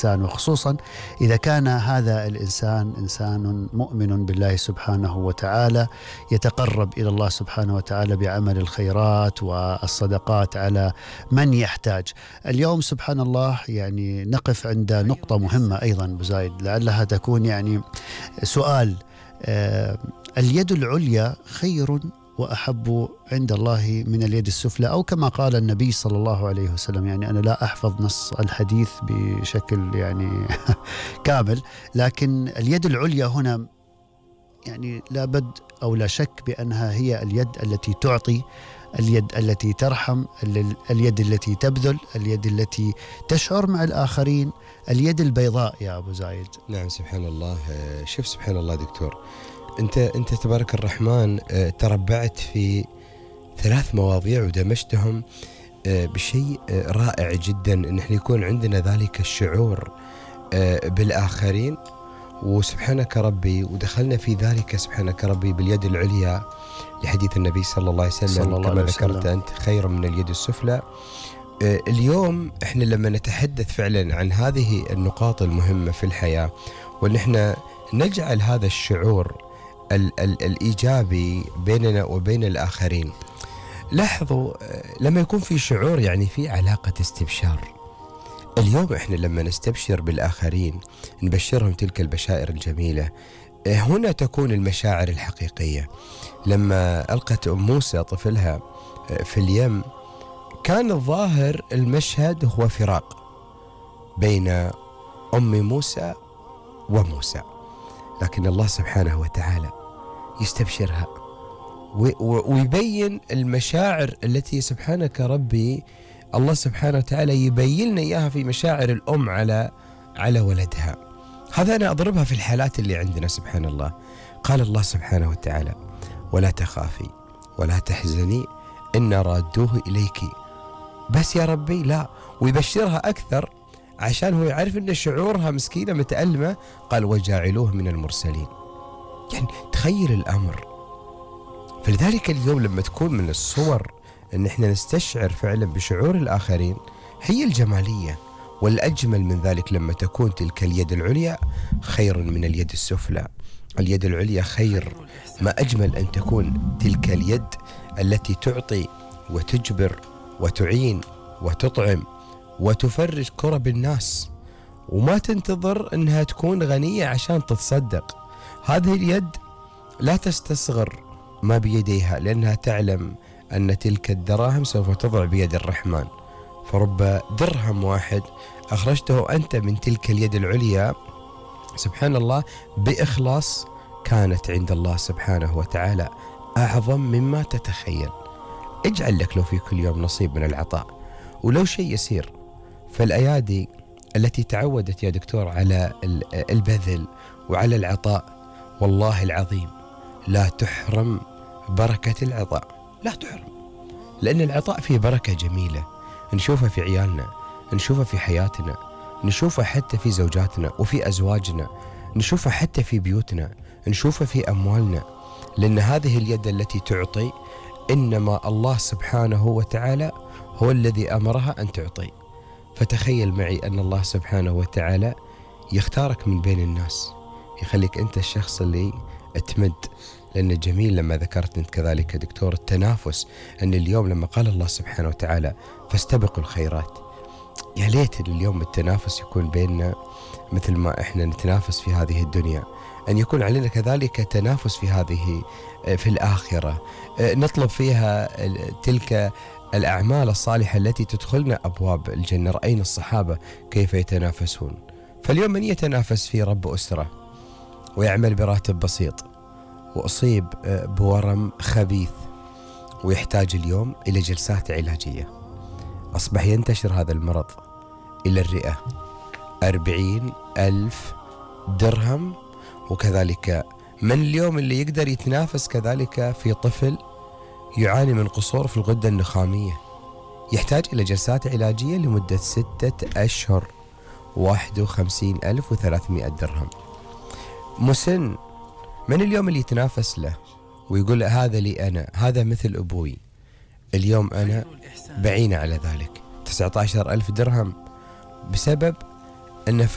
وخصوصا إذا كان هذا الإنسان إنسان مؤمن بالله سبحانه وتعالى يتقرب إلى الله سبحانه وتعالى بعمل الخيرات والصدقات على من يحتاج. اليوم سبحان الله يعني نقف عند نقطة مهمة أيضا أبو زايد، لعلها تكون يعني سؤال. اليد العليا خير وأحب عند الله من اليد السفلى، أو كما قال النبي صلى الله عليه وسلم. يعني أنا لا أحفظ نص الحديث بشكل يعني كامل، لكن اليد العليا هنا يعني لا بد أو لا شك بأنها هي اليد التي تعطي، اليد التي ترحم، اليد التي تبذل، اليد التي تشعر مع الآخرين، اليد البيضاء يا أبو زايد. نعم سبحان الله. شوف سبحان الله دكتور، أنت تبارك الرحمن تربعت في 3 مواضيع ودمجتهم بشيء رائع جدا، أن احنا يكون عندنا ذلك الشعور بالآخرين، وسبحانك ربي ودخلنا في ذلك سبحانك ربي باليد العليا لحديث النبي صلى الله عليه وسلم كما ذكرت أنت خير من اليد السفلى. اليوم احنا لما نتحدث فعلا عن هذه النقاط المهمة في الحياة، وان احنا نجعل هذا الشعور الإيجابي بيننا وبين الآخرين. لاحظوا لما يكون في شعور يعني في علاقة استبشار. اليوم احنا لما نستبشر بالآخرين نبشرهم تلك البشائر الجميلة، هنا تكون المشاعر الحقيقية. لما ألقت أم موسى طفلها في اليم، كان الظاهر المشهد هو فراق بين أم موسى وموسى، لكن الله سبحانه وتعالى يستبشرها ويبين المشاعر التي سبحانك ربي الله سبحانه وتعالى يبين لنا إياها في مشاعر الأم على ولدها. هذا أنا أضربها في الحالات اللي عندنا سبحان الله. قال الله سبحانه وتعالى: ولا تخافي ولا تحزني إن رادوه إليك. بس يا ربي لا، ويبشرها أكثر عشان هو يعرف أن شعورها مسكينة متألمة. قال: وجاعلوه من المرسلين. يعني تخيل الأمر. فلذلك اليوم لما تكون من الصور أن احنا نستشعر فعلا بشعور الآخرين هي الجمالية. والأجمل من ذلك لما تكون تلك اليد العليا خير من اليد السفلى. اليد العليا خير، ما أجمل أن تكون تلك اليد التي تعطي وتجبر وتعين وتطعم وتفرج كرب الناس، وما تنتظر أنها تكون غنية عشان تتصدق. هذه اليد لا تستصغر ما بيديها، لأنها تعلم أن تلك الدراهم سوف تضع بيد الرحمن. فرب درهم واحد أخرجته أنت من تلك اليد العليا سبحان الله بإخلاص، كانت عند الله سبحانه وتعالى أعظم مما تتخيل. اجعل لك لو في كل يوم نصيب من العطاء ولو شيء يسير. فالأيادي التي تعودت يا دكتور على البذل وعلى العطاء، والله العظيم لا تحرم بركة العطاء، لا تحرم. لأن العطاء فيه بركة جميلة نشوفها في عيالنا، نشوفها في حياتنا، نشوفها حتى في زوجاتنا وفي أزواجنا، نشوفها حتى في بيوتنا، نشوفها في أموالنا. لأن هذه اليد التي تعطي إنما الله سبحانه وتعالى هو الذي أمرها أن تعطي. فتخيل معي أن الله سبحانه وتعالى يختارك من بين الناس، يخليك أنت الشخص اللي تمد. لأن جميل لما ذكرت أنت كذلك دكتور التنافس، أن اليوم لما قال الله سبحانه وتعالى فاستبقوا الخيرات، يا ليت اليوم التنافس يكون بيننا مثل ما إحنا نتنافس في هذه الدنيا، أن يكون علينا كذلك تنافس في الآخرة، نطلب فيها تلك الأعمال الصالحة التي تدخلنا أبواب الجنة. رأينا الصحابة كيف يتنافسون. فاليوم من يتنافس في رب أسرة ويعمل براتب بسيط وأصيب بورم خبيث ويحتاج اليوم إلى جلسات علاجية، أصبح ينتشر هذا المرض إلى الرئة، 40,000 درهم. وكذلك من اليوم اللي يقدر يتنافس كذلك في طفل يعاني من قصور في الغدة النخامية، يحتاج إلى جلسات علاجية لمدة 6 أشهر، 51,300 درهم. مسن من اليوم اللي يتنافس له ويقول هذا لي أنا، هذا مثل أبوي، اليوم أنا بعين على ذلك 19,000 درهم بسبب أن